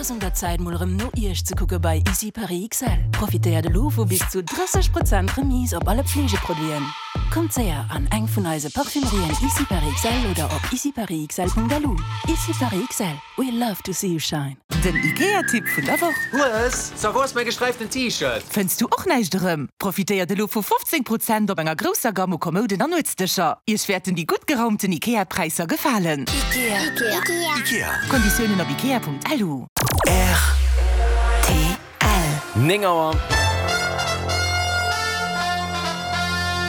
ass un der Zäit mol erëm no Iech ze kucke bei Ici Paris XL. Profitéiert elo vu bis zu 30 Prozent Remise op alle Pflegeproduiten. Kommt séier an eng vun eise Parfümerien Ici Paris XL oder op iciparisxl.lu. Ici Paris XL, we love to see you shine. Den Ikea-Tipp vun der Woch. Hues, so wou ass mäi gesträiften T-Shirt? Fënns du och näischt erëm? Profitéiert elo vu 15 Prozent op enger grousser Gamme u Kommouden an Nuetsdëscher. Iech wäerten déi gutt geraumten Ikea-Präisser gefalen. Ikea. Ikea. Konditiounen op ikea.lu. Rtl. 9 Auer.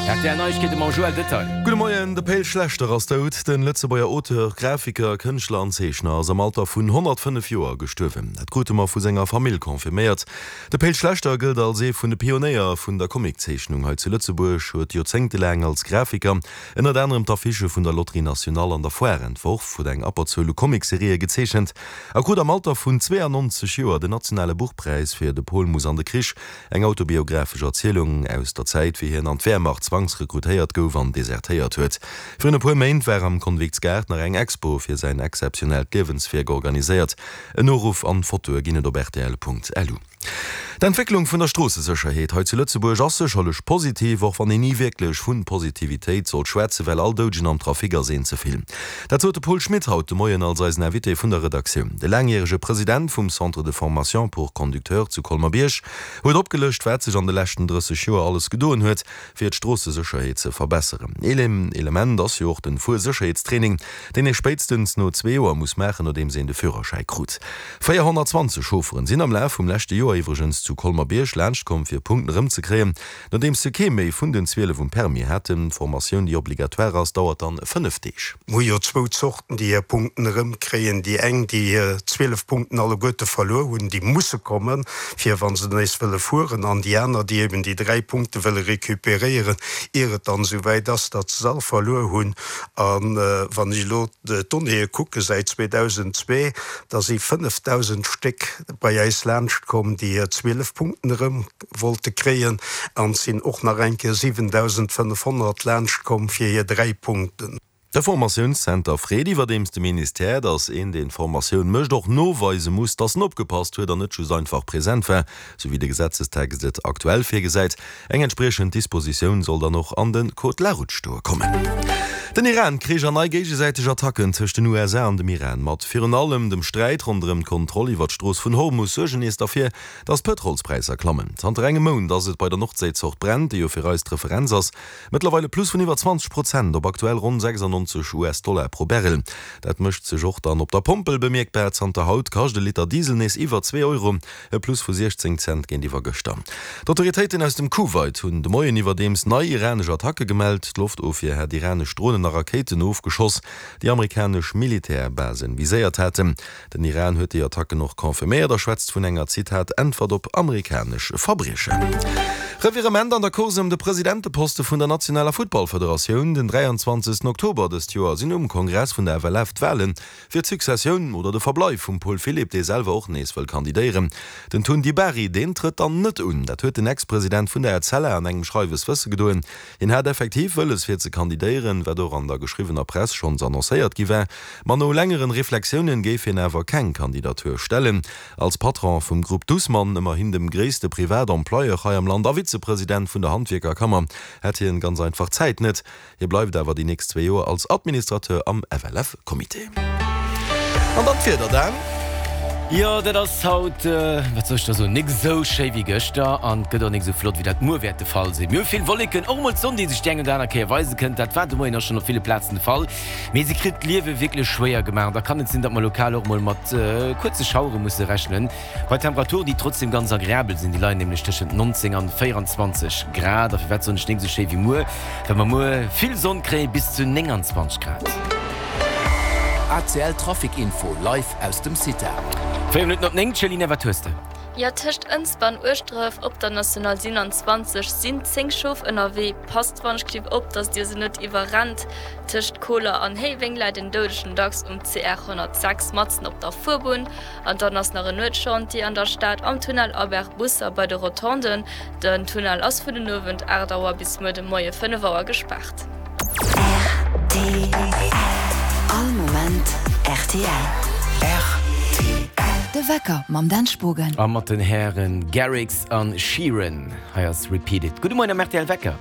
Rtl Neiegkeete mam Joël Detail. Gudde Moien, De Pe'l Schlechter ass dout. Den Lëtzebuerger Auteur, Grafiker, Kënschtler an Zeechner ass am Alter vun 105 Joer gestuerwen. Dat krute mer vu senger Famill confirméiert. De Pe'l Schlechter gëllt als ee vun de Pionéier vun der Comiczeechnung hei zu Lëtzebuerg, huet joerzéngtelaang als Grafiker ënnert anerem d'Affichë vun der Loterie Nationale an der Foire entworf, huet eng Abberzuel u Comicserië gezeechent a krut am Alter vun 92 Joer den nationale Buchpräis fir De Pol muss an de Krich, eng autobiographesch Erzielung aus der Zäit, wéi hien an d'Wehrmacht zwangsrekrutéiert gouf an desertéiert huet. Virun e puer Méint war am Konviktsgaart nach eng Expo fir säin exzeptionellt Liewenswierk organiséiert. En Noruff an Fotoe ginn et op rtl.lu. D'Entwécklung vun der Stroossesécherheet hei zu Lëtzebuerg ass sécherlech positiv, och wann een ni wierklech vu Positivitéit sollt schwätzen, well all Doudegen am Trafic ass een ze vill. Dat sot de Paul Schmit haut de Moien als eisen Invité vun der Redaktioun. De laangjärege President vum Centre de formation pour conducteurs zu Colmer-Bierg huet opgelëscht, wat sech an de leschten 30 Joer alles gedoen huet, fir d'Stroossesécherheet ze verbesseren. Een Element ass jo och den Fuersécherheetstraining, deen ee spéitstens no zwee Joer muss maachen, nodeems een de Führerschäi krut. 420 Chaufferen sinn am Laf vum leschte Joer iwwregens zu Colmer-Bierg laanschtkomm, fir Punkten erëmzekréien, nodeems se kee méi vun den 12 um Permis haten. D'Formatioun, déi obligatoire ass, dauert dann 5 Deeg. Mir hu jo zwou Zorten, déi hir Punkten erëmkréien. Déi eng, déi hir 12 Punkten alleguerte verluer hunn, déi musse kommen, fir wa se nees wëlle fueren, an déi aner, déi eben déi dräi Punkte wëlle recuperéieren, ier et dann esou wäit ass, datt se se all verluer hunn. A wann ech elo d'Donnéeë kucke säit 2002, da si 5.000 Stéck bei äis laanscht komm, déi hir 12 Punkten erëm wollte kréien, an et sinn och nach eng Kéier 7.500 laanscht komm fir hir dräi Punkten. De Formatiounszenter freet iwwerdeems de Ministère, datt een, deen d'Formatioun mécht, och noweise muss, datt en opgepasst huet an net just einfach present war, sou wéi de Gesetzestext et aktuell virgesäit. Eng entspriechend Dispositioun soll dann och an de Code de la route stoe kommen. Den Iran-Krich an nei géigesäiteg Attacken tëscht den USA an dem Iran, mat virun allem dem Sträit ronderëm d'Kontroll iwwer d'Strooss vun Hormus, suergen nees derfir, datt d'Pëtrolspräisser klammen. Zanter engem Mount ass et bei der Nordséizort Brent, déi jo fir eis d'Referenz ass, mëttlerweil e Plus vun iwwer 20 Prozent op aktuell ronn 96 US-Dollar pro Barrel. Dat mécht sech och dann op der Pompel bemierkbar. Zanter haut kascht e Liter Diesel nees iwwer zwee Euro. E Plus vu 16 Cent géintiwwer gëschter. D'Autoritéiten aus dem Kuwait hunn de Moien iwwerdeems nei iranesch Attacke gemellt. D'Loftofwier hätt iranesch Dronen a Rakéiten ofgeschoss, déi amerikanesch Militärbasen viséiert haten. Den Iran huet déi Attacken och confirméiert a schwätzt vun enger, Zitat, Äntwert op amerikanesch Verbriechen. Revirement an der Course ëm de Presidenteposte vun der nationaler Futtballfederatioun. Den 23 Oktober dëst Joer sinn um Kongress vun der FLF d'Walen Fir d'Successioun oder de Verbleif vum Paul Philipp, dee selwer och nees wëll kandidéieren. Den Tun Dibari, deen trëtt dann net un. Dat huet den Ex-President vun der Etzella an engem Schreiwes wësse gedoen. Hien hat effektiv wëlles fir ze kandidéieren, wat och an der geschriwwener Press schonns annoncéiert gi war. Ma no längeren Reflexiounen géif hien awer keng Kandidatur stellen. Als Patron vum Grupp Dussmann, ëmmerhin dem gréisste Privat-Employeur hei am Land, a Vizepresident vun der Handwierkerkammer, hätt hien ganz einfach d'Zäit net. Hie bleift awer déi nächst zwee Joer als Administrateur am FLF-Comité. An dann d'Wieder, Dan. Jo, dat ass haut, wat soll ech da soen, nik esou schéi wéi gëschter an et gëtt och nik esou flott wéi dat muer wäert de Fall sinn. Mir hu vill Wolleken, och emol d'Sonn, déi sech déi eng oder aner Kéier weise kënnt. Dat war de Moien och schonn op ville Plazen de Fall, mee se kritt d'Liewe wierklech schwéier gemaach. Da kann et sinn, datt mer lokal och emol mat kuerze Schauere musse rechnen. Bei Temperaturen, déi trotzdem ganz agreabel sinn, déi leien nämlech tëschent 19 an 24 Grad. A firwat soen ech nik esou schéi wéi muer? Well mer muer vill Sonn kréien, bis zu 29 Grad. ACL Trafic Info live aus dem CITA. 4 Minutten op 9, Céline, wat hues de? Jo, tëscht Ënsber an Ueschdref op der National 27 sinn 10 Schof ënnerwee. Passt wann-ech-gelift op, dass dir se net iwwerrennt. Tëscht Koler an Héiweng läit en Doudegen dacks um CR 106 matzen op der Fuerbunn. An dann ass nach en Nuetschantier an der Stad am Tunnel Albert Busser bei de Rotonden. Den Tunnel ass vun den Owend 8 Auer bis muer de Moie 5 Auer gespaart. Rtl. All Moment rtl. Rtl. De Wecker mam Dan Spogen. A mat den Hären Garrix an Sheeran. Hei ass Repeat It. Gudde Moien am rtl Wecker.